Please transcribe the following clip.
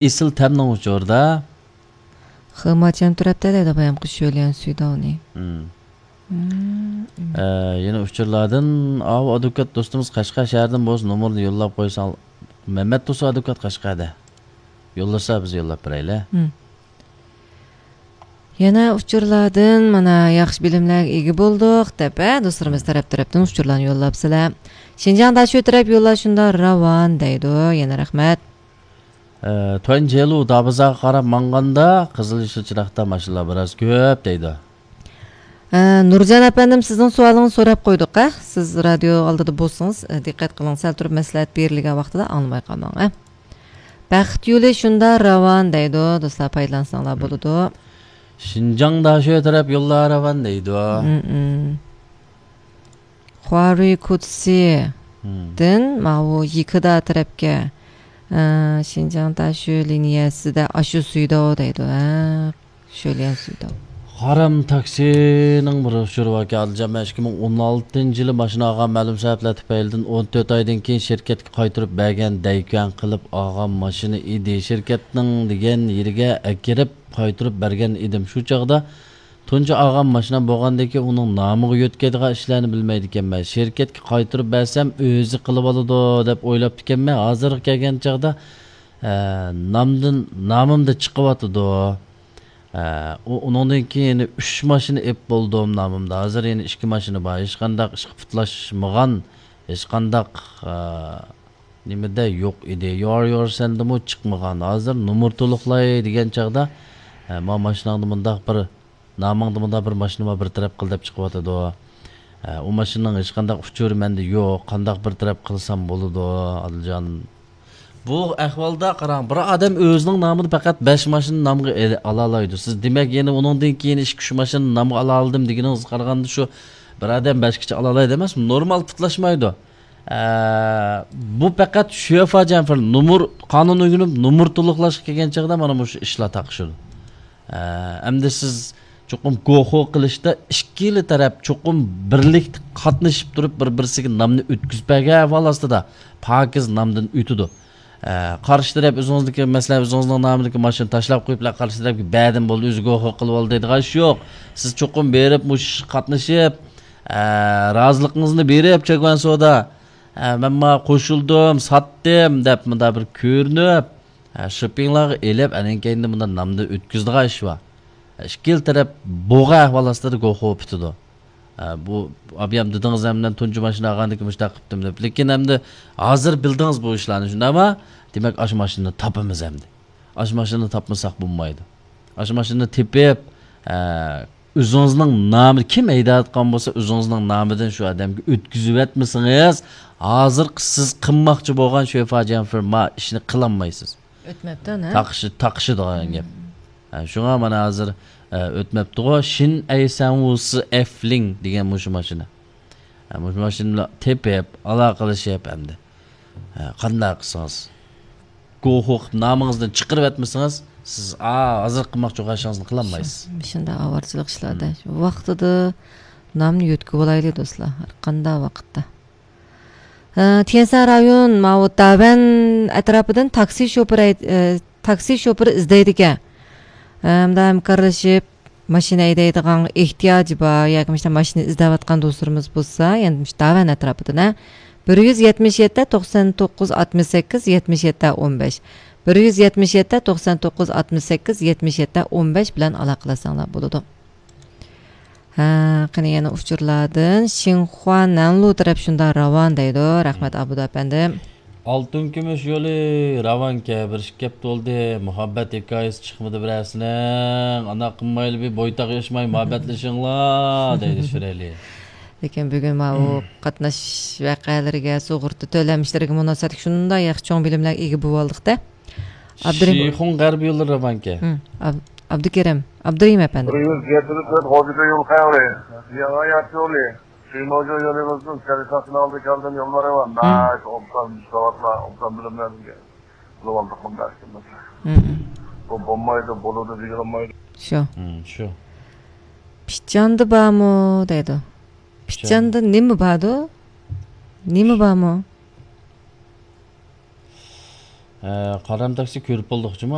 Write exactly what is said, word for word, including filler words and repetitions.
ئېسىل تەمنىڭ ئۇچۇرىدا. خېماچيەن تۈرەپتە دەيدۇ بايامقى شۆليەن سۈيداۋنى. مم. مم. ئە، يەنە ئۇچۇرلاردىن ئاۋۇ ئادۋوكات دوستىمىز قەشقەر شەھىرىدىن بولسا نومۇرنى يوللاپ قويساڭ، مەمەت تۇرسۇن ئادۋوكات قەشقەردە. يوللىسا بىز يوللاپ بېرەيلى. مم. يەنە ئۇچۇرلاردىن مانا ياخشى بىلىملەرگە ئىگە بولدۇق دەپ، ھە، دوستلىرىمىز تەرەپ تەرەپتىن ئۇچۇرلارنى يوللاپسىلەر. شىنجاڭ داشۆ تەرەپ يوللار شۇنداق راۋان دەيدۇ. يەنە رەھمەت. ئە، تۇەنجيەنلۇ دابىزاغا قاراپ ماڭغاندا قىزىل يېشىل چىراغدا ماشىنىلار بىراز كۆپ دەيدۇ. ئە، نۇرجان ئەپەندىم، سىزنىڭ سوئالىڭىزنى سوراپ قويدۇق، ھە؟ سىز رادىيو ئالدىدا بولسىڭىز، ئە، دىققەت قىلىڭ، سەل تۇرۇپ مەسلىھەت بېرىلگەن ۋاقتىدا ئاڭلىماي قالماڭ، ھە؟ بەخت يولى شۇنداق راۋان دەيدۇ، دوستلار پايدىلانساڭلار بولىدۇ. شىنجاڭ داشۆ تەرەپ يوللار راۋان دەيدۇ. مم، مم. خۇارۇي كۇتسى دىن ماۋۇ يىكىدا تەرەپكە، ئە، شىنجاڭ داشۆ لىنىيەسىدە ئاشۇ سۈيداۋ دەيدۇ، ھە، شۆليەن سۈيداۋ. غارام تاكسىنىڭ بىر ئۇچۇرى باركەن، ئادىلجان، مەن ئىككى مىڭ ئون ئالتىنچى يىلى ماشىنا ئالغان، مەلۇم سەۋەبلەر تۈپەيلىدىن ئون تۆت ئايدىن كېيىن شىركەتكە قايتۇرۇپ بەرگەن دەيكۈەن قىلىپ ئالغان ماشىنا ئىدى. شىركەتنىڭ دېگەن يېرىگە ئەكىرىپ قايتۇرۇپ بەرگەن ئىدىم. شۇ چاغدا تۇنجى ئالغان ماشىنام بولغاندىكىن ئۇنىڭ نامىغا يۆتكەيدىغان ئىشلارنى بىلمەيدىكەنمەن. شىركەتكە قايتۇرۇپ بەرسەم ئۆزى قىلىۋالىدۇ دەپ ئويلاپتىكەنمەن. ھازىرغا كەلگەن چاغدا، ئە، نامدىن، نامىمدا چىقىۋاتىدۇ. ئە، ئۇ، ئۇنىڭدىن كېيىن يەنە ئۈچ ماشىنا ئېلىپ بولدۇم نامىمدا. ھازىر يەنە ئىككى ماشىنا بار. ھېچقانداق ئىشقا پۇتلاشمىغان، ھېچقانداق، ئە، نېمىدە يوق ئىدى. يور يور سەندىمۇ چىقمىغان. ھازىر نومۇر تولۇقلاي دېگەن چاغدا، ئە، ما ماشىناڭدا مۇنداق بىر، نامىڭدا مۇنداق بىر ماشىنا بار، بىر تەرەپ قىل دەپ چىقىۋاتىدۇ. ئە، ئۇ ماشىنىنىڭ ھېچقانداق ئۇچۇرى مەندە يوق. قانداق بىر تەرەپ قىلسام بولىدۇ، ئادىلجان؟ بۇ ئەھۋالدا قاراڭ، بىر ئادەم ئۆزىنىڭ نامىدا پەقەت بەش ماشىنا نامغا ئېلى-، ئالالايدۇ. سىز دېمەك يەنە ئۇنىڭدىن كېيىن ئىككى، ئۈچ ماشىنا نامغا ئالالىدىم دېگىنىڭىزگە قارىغاندا شۇ بىر ئادەم بەشكىچە ئالالايدۇ ئەمەسمۇ؟ نورمال پۇتلاشمايدۇ. ئە، بۇ پەقەت شۆفا جەنفېر نومۇر، قانۇن ئۆگىنىپ نومۇر تولۇقلاشقا كەلگەن چاغدا مانا مۇشۇ ئىشلار تاقىشىدۇ. ئە، ئەمدى سىز چوقۇم گوخو قىلىشتا ئىككىلا تەرەپ چوقۇم بىرلىكتە قاتنىشىپ تۇرۇپ بىر-بىرسىگە نامنى ئۆتكۈزۈپ بەرگەن ئەھۋال ئاستىدا پاكىز نامدىن ئۆتىدۇ. ئە، قارشى تەرەپ ئۆزىڭىزنىڭكى، مەسىلەن، ئۆزىڭىزنىڭ نامىدىكى ماشىنا تاشلاپ قويۇپلا قارشى تەرەپكە بەردىم بولدى، ئۆزى گوخو قىلىۋالدى دەيدىغان ئىش يوق. سىز چوقۇم بېرىپ مۇشۇ ئىشقا قاتنىشىپ، ئە، رازىلىقىڭىزنى بېرىپ، چاگۋەن سودا، ئە، مەن ما قوشۇلدۇم، ساتتىم دەپ مۇنداق بىر كۆرۈنۈپ، ھە، شىپپىڭلارغا ئېلىپ، ئەنەن كەينىدىن مۇنداق نامدا ئۆتكۈزىدىغان ئىش بار. ھە، ئىككىلا تەرەپ بوغا ئەھۋال ئاستىدا گوخو پۈتىدۇ. ھە، بۇ ئابىيام دېدىڭىز ھەمدە تۇنجى ماشىنا ئالغاندىكىن مۇشۇنداق قىپتىم دەپ. لېكىن ئەمدى ھازىر بىلدىڭىز بۇ ئىشلارنى، شۇنداقما؟ دېمەك، ئاشۇ ماشىنىنى تاپىمىز ئەمدى. ئاشۇ ماشىنىنى تاپمىساق بولمايدۇ. ئاشۇ ماشىنىنى تېپىپ، ھە، ئۆزىڭىزنىڭ نامى، كىم ھەيدەۋاتقان بولسا، ئۆزىڭىزنىڭ نامىدىن شۇ ئادەمگە ئۆتكۈزۈۋەتمىسىڭىز، ھازىرقى سىز قىلماقچى بولغان شۆفا جەنفېر ما ئىشنى قىلالمايسىز. ئۆتمەپتۇ، ھە؟ تاقىشى-، تاقىشىدىغان گەپ. ھە، شۇڭا مانا ھازىر، ئە، ئۆتمەپتىغۇ. شىن ئەي سەنۋۇسى ئەفلىڭ دېگەن مۇشۇ ماشىنا. ھە، مۇشۇ ماشىنا بىلەن تېپىپ، ئالاقىلىشىپ ئەمدى. ھە، قانداق قىلسىڭىز؟ گوخۇ قىلىپ نامىڭىزدىن چىقىرىۋەتمىسىڭىز، سىز، ئا، ھازىر قىلماقچى بولغان ئىشىڭىزنى قىلالمايسىز. شۇ-، مۇشۇنداق ئاۋارىچىلىق ئىشلاردا ھىم. ۋاقتىدا نامنى يۆتكىۋالايلى دوستلار، ھەر قانداق ۋاقىتتا. ئە، تيەنسەن رايون ماۋۇ داۋەن ئەتراپىدىن تاكسى شوپۇرى ھەي-، ئە، تاكسى شوپۇرى ئىزدەيدىكەن. ئە، ئەمدى ھەمكارلىشىپ، ماشىنا ھەيدەيدىغان ئېھتىياجى بار ياكى مۇشۇنداق ماشىنا ئىزدەۋاتقان دوستلىرىمىز بولسا، يەنە مۇشۇ داۋەن ئەتراپىدىن، ھە، بىر يۈز يەتمىش يەتتە، توقسەن توققۇز، ئاتمىش سەككىز، يەتمىش يەتتە، ئون بەش، بىر يۈز يەتمىش يەتتە، توقسەن توققۇز، ئاتمىش سەككىز، يەتمىش يەتتە، ئون بەش بىلەن ئالاقىلەشسەڭلار بولىدۇ. ھە، قېنى يەنە ئۇچۇرلاردىن. شىنخۇا نەنلۇ تەرەپ شۇنداق راۋان دەيدۇ. رەھمەت، ئابدۇ ئەپەندىم. ئالتۇن كۈمۈش يولى راۋانكەن، بىر ئىككى ھەپتە بولدى، مۇھەببەت ھېكايىسى چىقمىدى بىرەرسىنىڭ. ئانداق قىلمايلى، بىر بويتاق ياشماي مۇھەببەتلىشىڭلار دەيدۇ شىرئەلى. لېكىن بۈگۈن ماۋۇ قاتناش ۋەقەلىرىگە، سۇغۇرتا تۆلەم ئىشلىرىگە مۇناسىۋەتلىك شۇنداق ياخشى چوڭ بىلىملەرگە ئىگە بولۇۋالدۇق-تە. ئابدۇرېھىم. شىخۇڭ غەربىي يولى راۋانكەن. ھىم، ئاب-، ئابدۇكېرىم، ئابدۇرېھىم ئەپەندى. بىر يۈز يەتتە تۆت غوجىكۆل يول خەۋىرى. ياڭا يات يولى. شىماجۇ يولىمىزدىن سەرساقسىنىڭ ئالدىغا كەلدىم، يوللار يامان. ھىم. بەك ئوبدان، مۇشۇ ساۋاتلار ئوبدان بىلىملەرگە بولۇۋالدۇق بۇنداق ئىشلارنى. ھىم. بۇ بولمايدۇ، بولىدۇ دېگىلىمايدۇ. شۇ. ھىم، شۇ. پىچاندا بارمۇ دەيدۇ. پىچاندا نېمە باردۇ؟ نېمە بارمۇ؟ ھە، قارام تاكسى كۆرۈپ بولدۇق جۇمۇ.